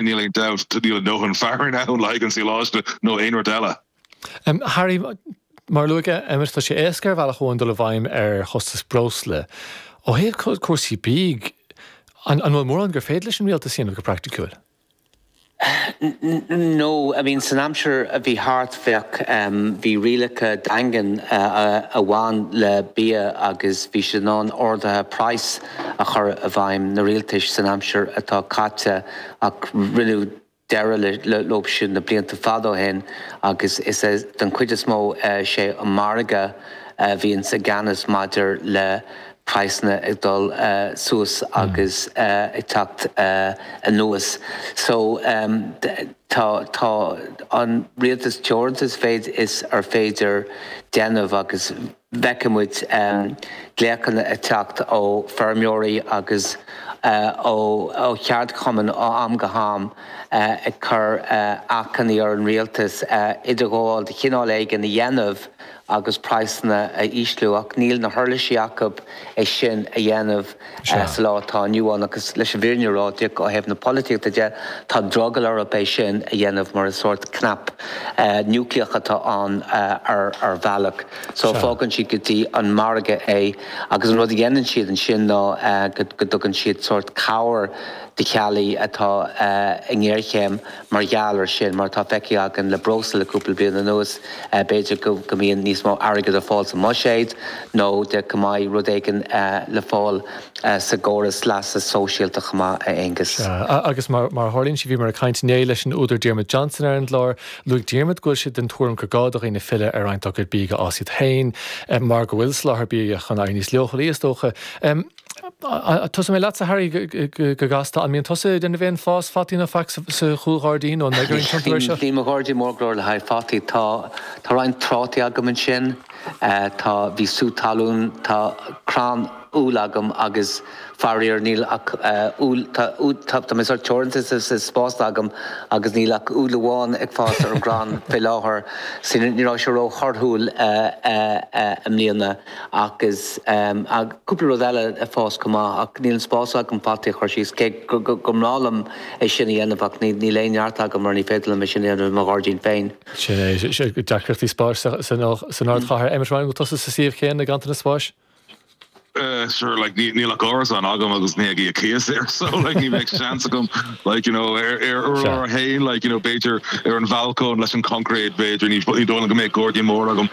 Níl aon dabht, níl a ndóthain fearann ann le haghaidh an síleáiste nó aon rud eile. Harry, mar a luaigh Emmet, tá sé éasca ar bhealach amháin dul i bhfeidhm ar chostas breosla. Ó thaobh cúrsaí bídh, an bhfuil mórán gur féidir leis an rialtas a dhéanamh go praiticiúil? No, I mean san aimsir a bhí thart bheadh, bhí rialacha daingean a bhain le bia agus bhí siad in ann arduithe praghas a chur i bhfeidhm, na rialtais san aimsir atá caite ach rinneadh deireadh leo sin na blianta fada ó shin agus is é den chuid is mó sé an margadh a bhíonns i gceannas maidir le praghsanna ag dul suas agus ag teacht anuas. So tá tá an rialtas teoranta sa mhéid is ar féidir déanamh agus bhfeiceann muid glaochanna ag teacht ó feirmeoirí agus ó cheardchumainn ó am go ham ag cur achainí ar an rialtas idirghabháil de chineál éigin a dhéanamh agus praghsanna a ísliú ach níl na huirlisí acu é sin a dhéanamh sa lá atá inniu ann agus leis an bhfírinne a rá ó thaobh na polaitíochta de, tá drogall orthu é sin a dhéanamh mar is sórt cnap núicléach atá ann ar bhealach. So fágann siad go dtí an margadh é agus an rud a dhéanann siad ansin ná go dtugann siad sórt cabhair do theaghlaigh atá i ngéarchéim Mar gheall ar sin, mar atá feicthe againn le breosla le cúpla bliain anuas, b'fhéidir go mbíonn níos mó airgid ar fáil sa mbuiséad nó de go mbeidh rud éigin le fáil sa gcóras leasa sóisialta chomh maith, a Aonghus. Sea, agus mar a tharlaíonn sé, bhíomar ag caint inné leis an údar Diarmuid Johnson ar an gclár. Luaigh Diarmuid go bhfuil sé den tuairim gur gá do dhaoine filleadh ar roinnt dá gcuid bídh a fhás iad féin, mar go bhfuil soláthar bia chun éirí níos leochailí, is dócha. Tosóidh mé leatsa, Harry, go gasta. An mbíonn tusa ag déanamh aon fás fataí nó faic sa chúlghairdín nó an mbeidh orainn tiontú air seo? Níl mo ghairdín mór go leor le haghaidh fataí. Tá tá roinnt trátaí agam ansin. Tá bhí sú talún, tá crann úll agam agus faraor níl ach úll, tá tá tá mé sórt teoranta sa spás atá agam agus níl ach úll amháin ag fás ar an gcrann fé láthair. So ní raibh sé ró-thorthúil i mbliana. Agus cúpla rud eile ag fás chomh maith ach níl an spás agam fataí a chur síos, cé gur breá liom é sin a dhéanamh ach níl aon neart agam mar ní féidir liom é sin a dhéanamh i mo ghairdín féin. Sin é, deacrachtaí spáis san ardchathair. Emmet Ryan, an bhfuil tusa sa suíomh céanna, ganntanas spáis? Sure, like níl ach árasán agam agus mé ag íoc cíos air so like ní bheadh seans agam like you know ar ar urlár a haon like you know b'fhéidir ar an bhalcóin leis an concrete b'fhéidir ní ní dóigh liom go mbeadh gairdín mór agam.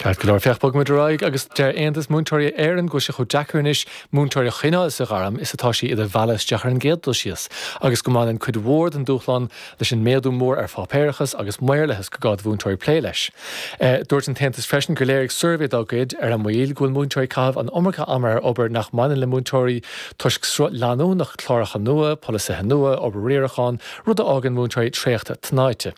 Ceart go leor, féach, bogfaimid ar aghaidh agus deir Aontas Múinteoirí Éireann go bhfuil sé chomh deacair anois múinteoirí a choinneáil sa ghairm is atá sé iad a mhealladh isteach ar an gcéad dul síos agus go mbaineann cuid mhór den dúshlán leis an méadú mór ar pháipéarachas agus maorlathas gur gá do mhúinteoirí plé leis. Dúirt an tAontas freisin gur léirigh suirbhé dá gcuid ar an moill go bhfuil múinteoirí ag caitheamh an iomarca ama ar obair nach mbaineann le múinteoirí toisc sruth leanúnach cláracha nua, polasaithe nua, obair riaracháin, rud a fhágann múinteoirí traochta tnáite.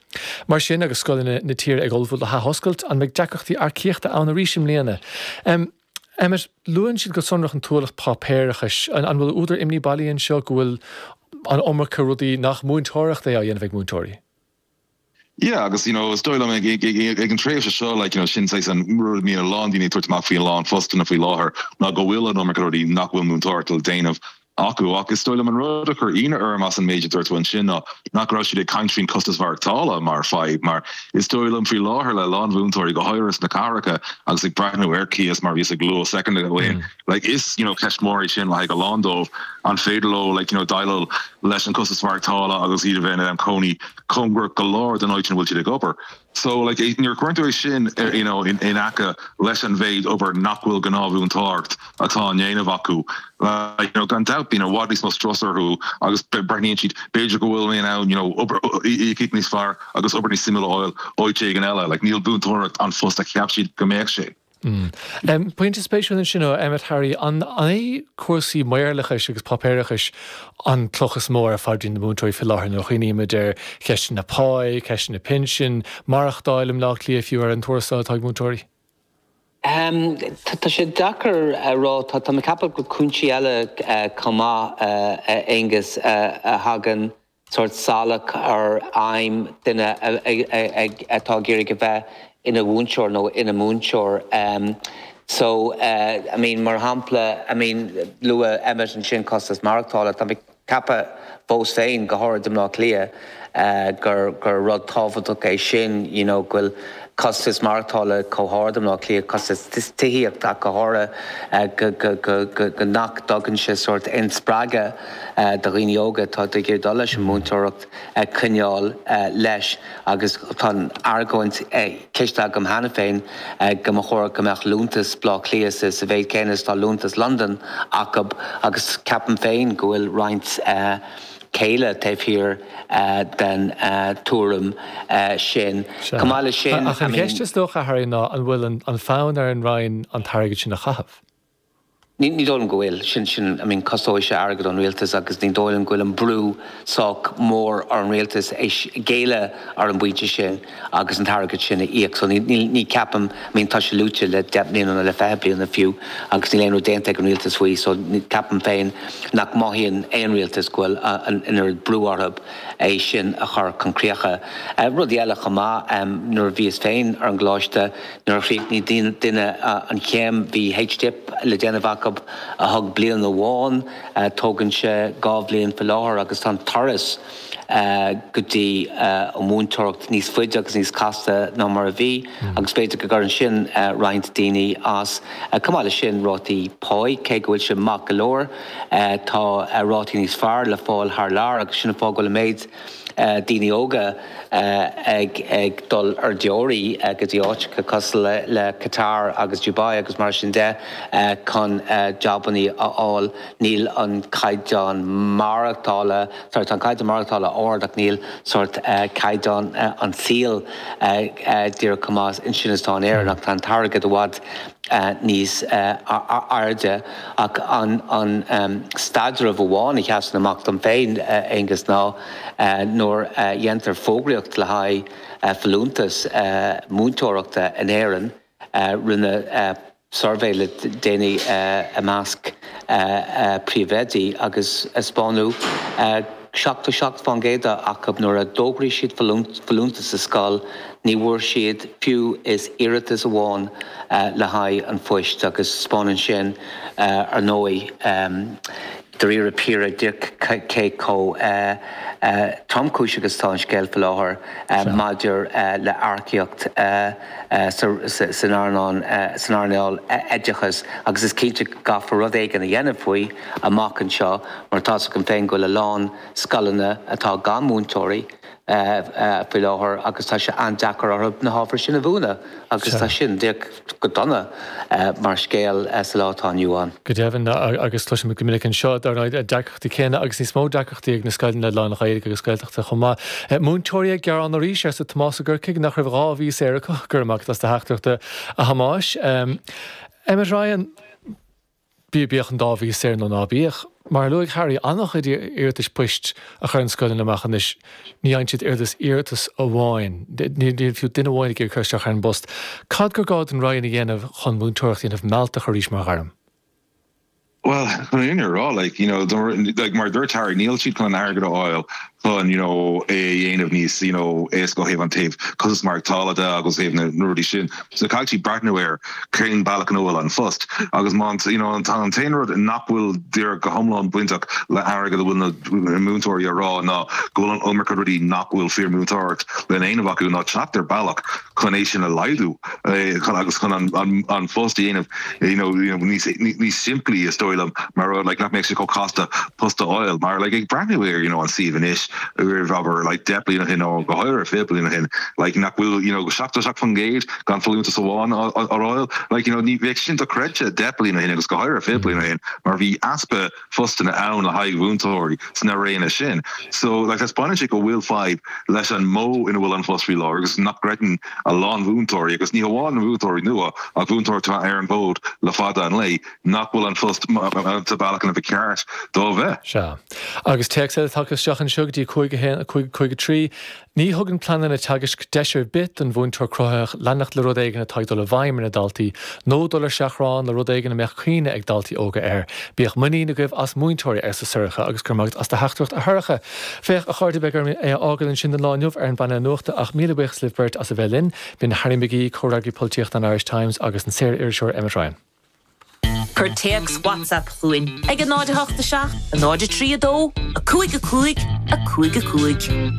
Mar sin, agus scoileanna na tíre ag ullmhú le hathoscailt, an mbeidh deacrachtaí earcaíochta ann arís i mbliana? Emmet, luann siad go sonrach an t-ualach páipéarachais. An bhfuil údar imní bailí anseo go bhfuil an iomarca rudaí nach múinteoireacht é á dhéanamh ag múinteoirí? Yeah, agus you know, is dóigh liom ag, ag, ag, ag an tréimhse seo, like, you know, sin saghas an rud a mbíonn a lán daoine ag tabhairt amach faoi a lán postanna faoi láthair ná go bhfuil an iomarca rudaí nach bhfuil múinteoireacht le déanamh acu. Ach is dóigh liom an rud a chuir ionadh orm as an méid a dúirt tú ansin ná nach raibh siad ag caint faoin costas mhaireachtála mar fadhb mar is dóigh liom faoi láthair le a lán mhúinteoirí go háirithe sna cathracha agus ag breathnú ar cíos mar bhíos ag lua soicind ó shin like is you know ceist mór é sin le haghaidh a lán dóibh an féidir leo like you know déileáil leis an costas mhaireachtála agus iad a bheith ina gcónaí cóngarach go leor don áit ina bhfuil siad ag obair. So like nuair a chuireann tú é sin you know in aice leis an mhéid obair nach bhfuil gnáthmhúinteoireacht atá á ndéanamh acu like you know gan dabht bíonn i bhfad níos mó strus orthu agus breathnaíonn siad b'fhéidir go bhfuil mé in ann you know obair íocaíocht níos fearr agus obair níos suimiúla a fháil áit éigin eile like níl múinteoireacht an phost a cheap siad go mbeadh sé. Pointe spéisiúil ansin ó Emmet Harry, an é cúrsaí maorlathais agus páipéarachais an cloch is mó ar phaidrín na múinteoirí faoi láthair nuair a chuimhnímid ar cheisteanna páí, ceisteanna pinsin, maireachtáil i mBleá Cliath fiú ar an tuarastal atá ag múinteoirí? Tá sé deacair a rá. Tá mé ag ceapadh gur cúinsí eile chomh maith, a Aonghus, a thagann sórt salach ar aidhm duine atá ag iarraidh a bheith ina mhúinteoir nó ina múinteoir. So, I mean, mar shampla, I mean, luaigh Emmet ansin costas maireachtála. Tá mé. Ceapadh fós féin, go háirid i mBleá Cliath, gur gur rud tábhachtach é sin, you know, go bhfuil costas maireachtála chomh hard i mBleá Cliath, costas tithíochta ach go háirithe, go go go go go nach dtugann sé sórt aon spreagadh do dhaoine óga atá ag iarraidh dul leis an múinteoireacht coinneáil leis. Agus tá an argóint cloiste agam cheana féin go mba chóir go mbeadh liúntas Bleá Cliath sa mhéid céanna is atá liúntas Londan acu agus ceapaim féin go bhfuil roinnt céille taobh thiar den tuairim sin. Chomh maith leis sin, Ach an cheist is dócha, a Harry, ná an bhfuil an fonn ar an Roinn an t-airgead sin a chaitheamh? Ní dóigh liom go bhfuil. Sin, sin, I mean, costóidh sé airgead ón rialtas agus ní dóigh liom go bhfuil an brú sách mór ar an rialtas é géilleadh ar an bpointe sin agus an t-airgead sin a íoc. So ní, ní, ní ceapaim, I mean, tá sé luaite le 10 mbliana nó le 20 bliana fiú agus níl aon rud déanta ag an rialtas faoi. So ceapaim féin nach mothaíonn aon rialtas go bhfuil an oiread brú orthu é sin a chur chun críocha. Rudaí eile chomh maith, nuair a bhíos féin ar an gcoláiste, Nuair a chríochnaigh duine an chéim bhí H-Dip le déanamh acu a thug bliain amháin, tógann sé 2 bhliain faoi láthair agus tá an turas go dtí an mhúinteoireacht níos faide agus níos casta ná mar a bhí agus b'fhéidir go gcuireann sin roinnt daoine as. Chomh maith leis sin, rátaí páí, cé go bhfuil sé maith go leor, tá rátaí níos fearr le fáil thar lear agus sin an fáth go bhfuil an méid daoine óga ag dul ar deoraí go dtí áiteacha cosúil le Qatar agus Dubai agus mar sin de chun jabannaí a fháil. Níl an caighdeán maireachtála, sorry, tá an caighdeán maireachtála ard ach níl sórt caighdeán an tsaoil díreach chomh maith ansin is atá in Éirinn ach tá an t-airgead i bhfad níos airde. Ach an staidreamh amháin a sheasann amach dom féin, a Aonghus, ná nuair a dhéantar fógraíocht le haghaidh folúntas múinteoireachta in Éirinn, rinneadh suirbhé le déanaí i measc príomhoidí agus 'spáineadh 77% acu nuair a d'fhógraigh siad folúntas sa scoil, ní bhfuair siad fiú is iarratas amháin le haghaidh an phoist agus 'spáineann sin, ar ndóigh, dáiríre píre díreach cé chomh tromchúiseach is atá an scéal faoi láthair maidir le hearcaíocht san earnáil oideachais agus is cinnte go gcaithfear rud éigin a dhéanamh faoi amach anseo mar tá's agam féin go bhfuil a lán scoileanna atá gan múinteoirí faoi láthair agus tá sé an-deacair orthu na hábhair sin a mhúineadh agus tá sin díreach go dona mar scéal sa lá atá inniu ann. Go deimhin, agus cloisimid go minic anseo, dar ndóigh, na deacrachtaí céanna agus níos mó deacrachtaí ag na scoileanna lán-Ghaeilge agus Gaeltachta chomh maith. Múinteoirí ag gearán arís, arsa Tomás i gCorcaigh, nach raibh 2 mhí saor acu. Go raibh maith agat as do theachtaireacht, a Thomáis. Emmet Ryan. Bíodh an dá mhí saor nó ná bíodh, mar a luaigh Harry, an-chuid iarratais poist a chuireann scoileanna amach anois, ní fhaigheann siad oiread is iarratas amháin, níl fiú duine amháin ag iarraidh cur isteach ar an bpost. Cad gur gá don Roinn a dhéanamh chun múinteoireacht a dhéanamh mealltach arís mar ghairm? Bhuel, chun an fhírinne a rá, like, you know, like, mar a dúirt Harry, níl siad chun an airgead a fháil chun, you know, é a dhéanamh níos, you know, éasca ó thaobh an taobh costas maireachtála de agus ó thaobh na rudaí sin. So caithfidh siad breathnú ar cén bealach ina bhfuil an phost agus má you know an t-aon rud nach bhfuil díreach go hiomlán bainteach le airgead a bhfuil na múinteoirí a rá ná go bhfuil an iomarca rudaí nach bhfuil fíor-mhúinteoireacht le déanamh acu ná teacht ar bealach chun é sin a laghdú agus chun an phost a dhéanamh you know níos níos simplí is dóigh liom mar rud like nach mbeadh sé chomh casta post a fháil mar like ag breathnú ar you know an suíomh anois roimh abair like 10 bliain ó shin nó go háirithe 20 bliain ó shin like nach bhfuil you know 77% gan folúntas amháin á fháil like you know ní bheadh sin dochreidte 10 bliain ó shin agus go háirithe 20 bliain ó shin mar bhí easpa phostanna ann le haghaidh mhúinteoirí sna réanna sin. So, like, taispeánann sé go bhfuil fadhb leis an modh ina bhfuil an phost faoi láthair agus nach gcreideann a lán mhúinteoirí, agus ní hamháin na múinteoirí nua ach mhúinteoirí atá ar an bhfód le fada an lae, nach bhfuil an phost sa bhealach ina ba cheart dó a bheith. Sea. Agus téacs eile tagtha isteach anseo go dtí 5 1 5 5 3. Ní thugann pleananna teagaisc deis ar bith don mhúinteoir cruthaitheach leanacht le rud éigin atá ag dul i bhfeidhm ar na daltaí, nó dul ar seachrán le rud éigin a mbeadh cuimhne ag daltaí óga air. Bíodh muinín agaibh as múinteoirí, arsa Sorcha, agus go raibh maith agat as do theachtaireacht, a Shorcha. Féach, a chairde, beidh orm é a fhágáil ansin don lá inniu ar an bpainéal nuachta, ach míle buíochas libh beirt as a bheith linn. B'in Harry McGee, comhfhreagraí polaitíochta an Irish Times, agus an saor-iriseoir Emmet Ryan. Cuir téacs WhatsApp chugainn ag 0 8 7 0 3 2 5 5 5 5.